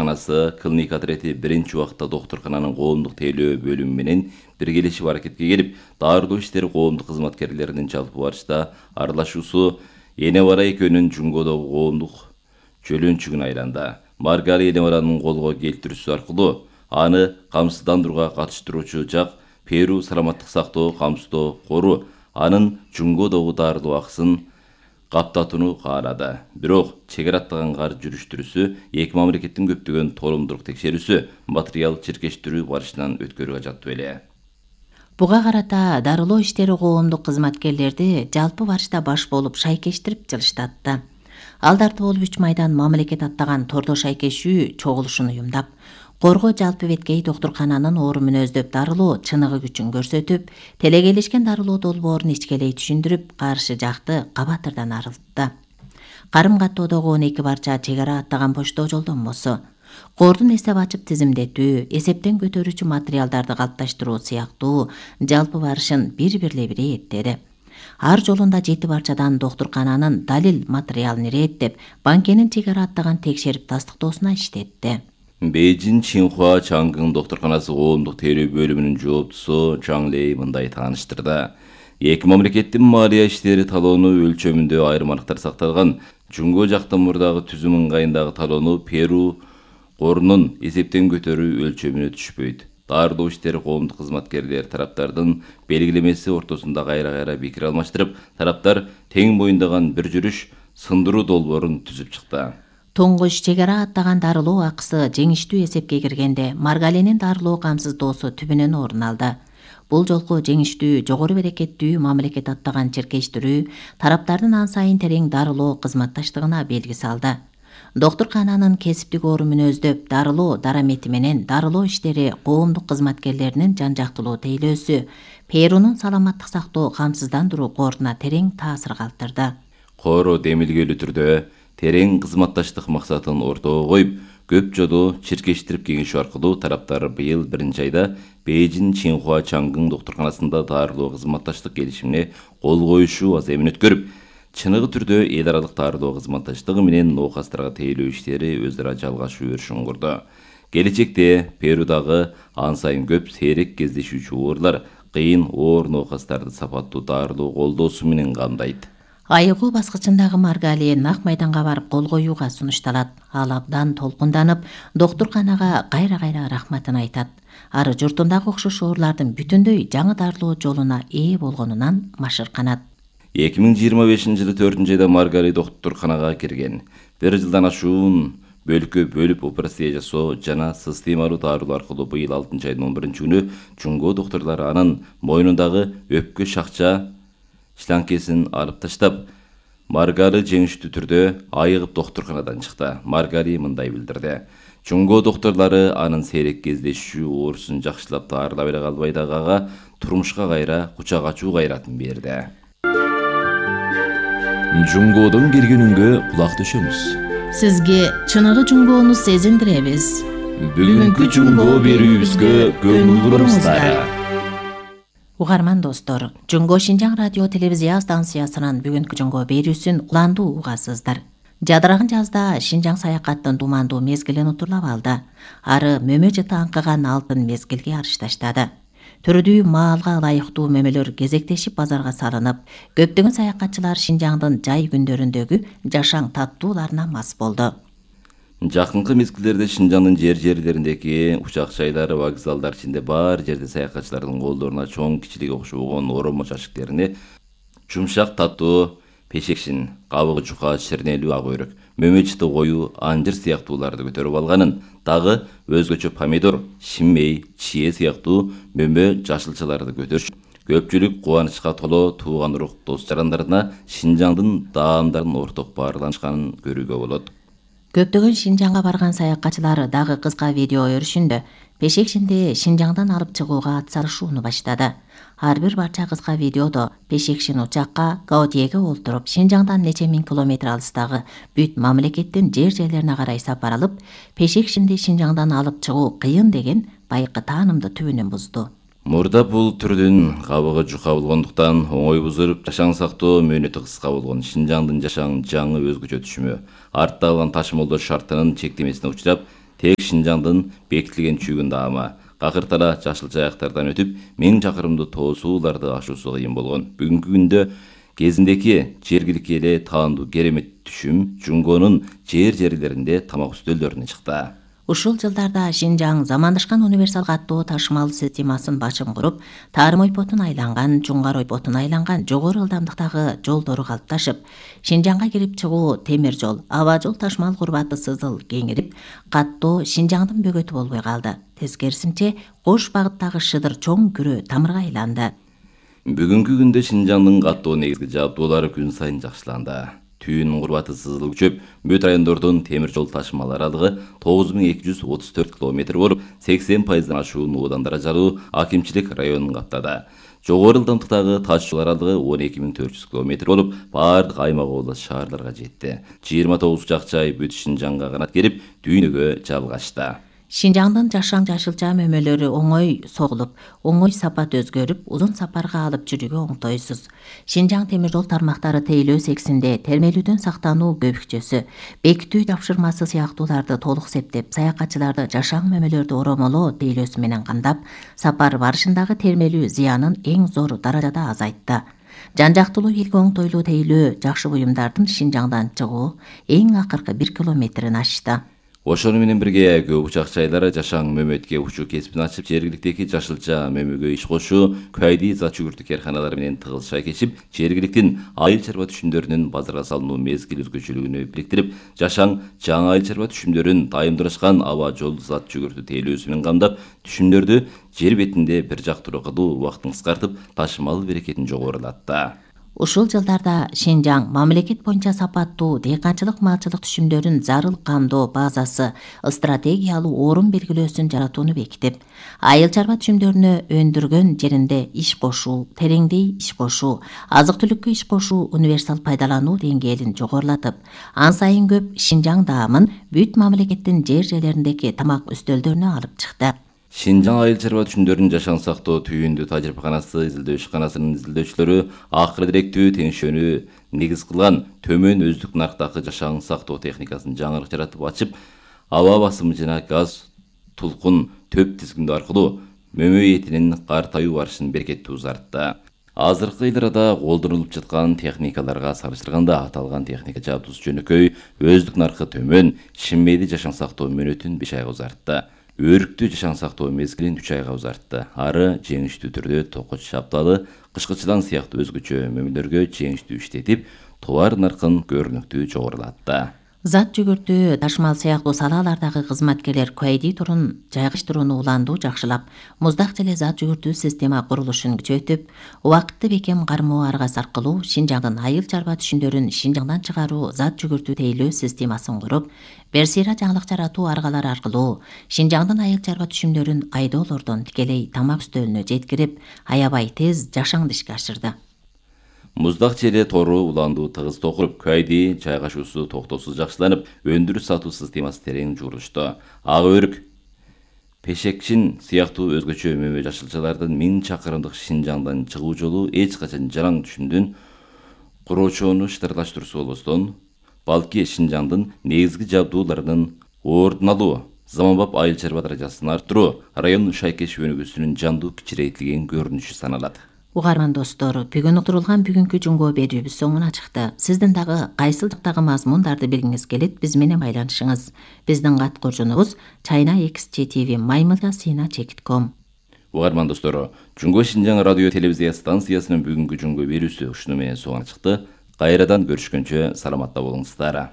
доктурканасы клиник отрети биринчи убакта доктуркананын коомдук тейлөө бөлүмү менен биргелешип аракетке келип, дарылоо иштери коомдук кызматкерлеринин жалпы барышта аралашуусу Энебара экөөнүн Жунгодогу коомдук чөлөнчүгүнө айланды. Маргари Энебаранын колго келтирүүсү аркылуу аны камсыздандырууга катыштыруучу жак Перу саламаттык сактоо камсыздоо кору анын Жунгодогу дарылоо акысын каптатууну каалады. Бирок чек ара аттаган кар жүрүштүрүүсү эки мамлекеттин көптөгөн тооломдук текшерүүсү материал чиркештирүү барышынан өткөрүүгө жатты беле. Буга карата дарылоо иштери коомдук кызматкерлерди жалпы барышта баш болуп шайкештирип жылыштатты. Алдарты болуп 3 майдан мамлекет аттаган тордо шайкешүү чогулушун уюмдап, Корго жалпы беткей доктуркананын оору мүнөздөп дарылоо чыныгы күчүн көрсөтүп, телегелешкен дарылоо долбоорун ичкелей түшүндүрүп, каршы жакты кабатырдан арылтты. Карым каттоодогу 12 барча чек ара аттаган поштоо жолдонмосу, кордун эсеп ачып тизимдетүү, эсептен көтөрүүчү материалдарды калыпташтыруу сыяктуу жалпы барышын бир-бирлей иреттеди. Ар жолунда 7 барчадан доктуркананын далил материалын иреттеп, банкенин чек ара аттаган текшерип тастыктоосуна иштетти. Бейжин Чинхуа Чангын доктурканасы коомдук тейлөө бөлүмүнүн жооптусу Чаң Лей мындай тааныштырды. Эки мамлекеттин малия иштери талоону өлчөмүндө айрым анықтар сакталган. Жунго жактын мурдагы түзүм ыңгайындагы талоону Перу корунун эсептен көтөрүү өлчөмүнө түшпөйт. Дарылоо иштери коомдук кызматкерлер тараптардын белгилемеси ортосунда кайра-кайра пикир алмаштырып, тараптар тең моюндаган бир жүрүш сындыруу долбоорун түзүп чыкты. Тоңгош чек ара аттаган дарылоо акысы жеңиштүү эсепке киргенде Маргаленин дарылоо камсыздоосу түбүнөн орун алды. Бул жолку жеңиштүү жогору берекеттүү мамлекет аттаган чиркештирүү тараптардын ан сайын терең дарылоо кызматташтыгына белги салды. Доктуркананын кесиптик оору мүнөздөп дарылоо дарамети менен дарылоо иштери коомдук кызматкерлеринин жан жактылуу тейлөөсү Перунун саламаттык сактоо камсыздандыруу коруна терең таасир калтырды. Кору демилгелүү түрдө терең кызматташтык максатын ортого коюп, көп жолу чиркештирип кеңешүү аркылуу тараптар быйыл 1-айда Бейжин Чинхуа Чангын доктурканасында дарылоо кызматташтык келишимине кол коюшу аземин өткөрүп, чыныгы түрдө эл аралык дарылоо кызматташтыгы менен оокастарга тейлөө иштери өз ара жалгашуу өрүшүн курду. Келечекте Перудагы ан сайын көп сейрек кездешүүчү оорулар кыйын оор оокастарды сапаттуу дарылоо колдоосу менен камдайт. Айыгуу баскычындагы Маргали нак майданга барып кол коюуга сунушталат. Ал абдан толкунданып, доктурканага кайра-кайра рахматын айтат. Ары журтундагы окшош оорулардын бүтүндөй жаңы дарылоо жолуна ээ болгонунан машырканат. 2025-жылы 4-айда Маргари доктурканага кирген. 1 жылдан ашуун бөлүккө бөлүп операция жасоо жана системалуу дарылоо аркылуу быйыл 6-айдын 11-күнү Жунго доктурлары анын мойнундагы өпкө шакча шланкесин алып таштап, Маргари жеңиштүү түрдө айыгып доктурканадан чыкты. Маргари мындай билдирди. Жунго доктурлары анын сейрек кездешүү оорусун жакшылап дарылап эле калбай дагы ага турмушка кайра кучак ачуу кайратын берди. Жунгодон киргенүнгө кулак төшөмүз. Сизге чыныгы жунгоону сезиндиребиз. Бүгүнкү жунго берүүбүзгө көңүл буруңуздар. Угарман достор, Жунго Шинжаң радио телевизия станциясынын бүгүнкү жунго берүүсүн уландуу угасыздар. Жадыраган жазда Шинжаң саякаттын думандуу мезгилин утурлап алды. Ары мөмө жыты аңкыган алтын мезгилге арышташтады. Түрдүү маалга ылайыктуу мөмөлөр кезектешип базарга салынып, көптөгөн саякатчылар Шинжаңдын жай күндөрүндөгү жашаң таттууларына мас болду. Жакынкы мезгилдерде Шинжаңдын жерлериндеги учак жайлары, вокзалдар ичинде бар жерде саякатчылардын колдоруна чоң кичилиги окшогон оромо чачыктерине жумшак таттуу пешекшин, кабыгы жука, ширнелүү ак өрүк, мөмө жыты коюу, анжыр сыяктууларды көтөрүп алганын, дагы өзгөчө помидор, шиммей, чие сыяктуу мөмө жашылчаларды көтөрүш. Көпчүлүк кубанычка толо тууган урук дос жарандарына Шинжаңдын даамдарын орток баарлашканын көрүүгө болот. Көптөгөн Шинжаңга барган саякатчылар дагы кыска видео өрүшүндө пешекшинди Шинжаңдан алып чыгууга атсалышууну баштады. Ар бир барча кыска видеодо пешекшин учакка Гаудиеге олтуруп, Шинжаңдан нече миң километр алыстагы бүт мамлекеттин жерлерине карай сапар алып, пешекшинди Шинжаңдан алып чыгуу кыйын деген байкы таанымды түбүнөн бузду. Мурда бул түрдүн кабыгы жука болгондуктан оңой бузулуп, жашаң сактоо мөөнөтү кыска болгон Шинжаңдын жашаң жаңы өзгөчө түшүмө, артта калган ташымалдоо шартынын чектемесине учурап, тек Шинжаңдын бекитилген чүйгүн даама какыртара жашыл жайактардан өтүп 1000 чакырымды тоо сууларды ашуусу кыйын болгон. Бүгүнкү күндө кезиндеки жергиликке эле таандуу керемет түшүм Жунгонун жерлеринде тамак үстөлдөрүнө чыкты. Ушул жылдарда Шинжаң замандашкан универсал каттоо ташымал системасын башым куруп, Тарым ойпотун айланган, Жуңгар ойпотун айланган жогору ылдамдыктагы жолдору калыпташып, Шинжаңга кирип чыгуу темир жол, аба жол ташымал курбаты сызыл кеңирип, каттоо Шинжаңдын бөгөтү болбой калды. Тескерисинче, кош багыттагы шыдыр чоң күрө тамырга айланды. Бүгүнкү күндө Шинжаңдын каттоо негизги жабдуулары күн сайын жакшыланды. Түйүн курбаты сызыл күчөп, бүт райондордун темир жол ташымал аралыгы 9234 километр болуп, 80% ашуун уудан даражалуу акимчилик районун каптады. Жогору ылдамдыктагы таш жол аралыгы 12400 километр болуп, бардык аймак область шаарларга жетти. 29 жакчай бүт Шинжаңга канат керип, дүйнөгө жалгашты. Шинжаңдын жашаң жашылча мөмөлөрү оңой согулуп, оңой сапат өзгөрүп, узун сапарга алып жүрүүгө оңтойсуз. Шинжаң темир жол тармактары тейлөө сексинде термелүүдөн сактануу көбүкчөсү, бекитүү жапшырмасы сыяктууларды толук септеп, саякатчыларды жашаң мөмөлөрдү оромолоо тейлөөсү менен камдап, сапар барышындагы термелүү зыянын эң зор даражада азайтты. Жан-жактылуу элге оңтойлуу тейлөө жакшы буюмдардын Шинжаңдан чыгуу эң акыркы 1 километрин ашты. Ошону менен бирге көп учак жайлары жашаң мөмөткө учуу кесибин ачып, жергиликтеги жашылча мөмөгө иш кошуу, кайди зат жүгүртүү карканалары менен тыгыз шайкешип, жергиликтин айыл чарба түшүмдөрүнүн базарга салынуу мезгил өзгөчөлүгүнө бириктирип, жашаң жаңы айыл чарба түшүмдөрүн дайымдырышкан аба жол зат жүгүртүү тейлөөсү менен камдап, түшүмдөрдү жер бетинде бир жактуу кылуу убактын кыскартып, ташымал берекетин жогорулатты. Ушул жылдарда Шинжаң мамлекет боюнча сапаттуу дыйканчылык малчылык түшүмдөрүн зарыл камдоо базасы стратегиялуу орун белгилөөсүн жаратууну бекитип, айыл чарба түшүмдөрүнө өндүргөн жеринде иш кошуу, тереңдей иш кошуу, азык-түлүккө иш кошуу универсал пайдалануу деңгээлин жогорулатып, ан сайын көп Шинжаң даамын бүт мамлекеттин жерлериндеги тамак үстөлдөрүнө алып чыкты. Шинжаң айыл чарба түшүмдөрүн жашаң сактоо түйүндүү тажрыйбаканасы изилдөө ишканасынын изилдөөчүлөрү акыры директүү теңшөөнү негиз кылган төмөн өздүк нарктагы жашаң сактоо техникасын жаңырык жаратып ачып, аба басымы жана газ тулкун төп тизгиндөө аркылуу мөмө этинин картаюу барышын беркеттүү узартты. Азыркы ылдырада колдонулуп жаткан техникаларга салыштырганда аталган техника жабдуусу жөнөкөй, өздүк наркы төмөн, шиммейди жашаң сактоо мөөнөтүн 5 айга узартты. Өрүктүү жашаң сактоо мезгилин 3 айга узартты. Ары жеңиштүү түрдө токоч шапталы, кышкычылан сыяктуу өзгөчө мөмөлөргө жеңиштүү иштетип, товар наркын көрүнүктүү жогорулатты. Зат жүгүртүү ташымал сыяктуу салалардагы кызматкерлер кайди турун жайгаштырууну уландуу жакшылап, муздак желе зат жүгүртүү система курулушун күчөтүп, убакытты бекем кармоо аргасы аркылуу Шинжаңдын айыл чарба түшүмдөрүн Шинжаңдан чыгаруу зат жүгүртүү тейлөө системасын куруп, берсира жаңылык жаратуу аргалары аркылуу Шинжаңдын айыл чарба түшүмдөрүн айдоолордон тикелей тамак үстөлүнө жеткирип, аябай тез жашаңды ишке ашырды. Муздак желе тору уландуу тыгыз токуруп, кайди жайгашуусу токтоосуз жакшыланып, өндүрүш сатуу системасы терең журулушту. Ак өрүк, пешекчин сыяктуу өзгөчө мөмө жашылчалардын 1000 чакырымдык Шинжаңдан чыгуу жолу эч качан жараң түшүмдүн куроочоону шытырлаштыруусу болбостон, балки Шинжаңдын негизги жабдууларынын ордун алуу, заманбап айыл чарба даражасын арттыруу, район шайкеш өнүгүүсүнүн жандуу кичирейтилген көрүнүшү саналат. Угарман достор, бүгүн утурулган бүгүнкү жуңго берүүбүз соңуна чыкты. Сиздин дагы кайсыл жактагы мазмундарды билгиңиз келет, биз менен байланышыңыз. Биздин кат коржунубуз china@mymilya.com. Угарман достор, Жуңго Шинжаң радио телевизия станциясынын бүгүнкү жуңго берүүсү ушуну менен соңуна чыкты. Кайрадан көрүшкөнчө саламатта болуңуздар.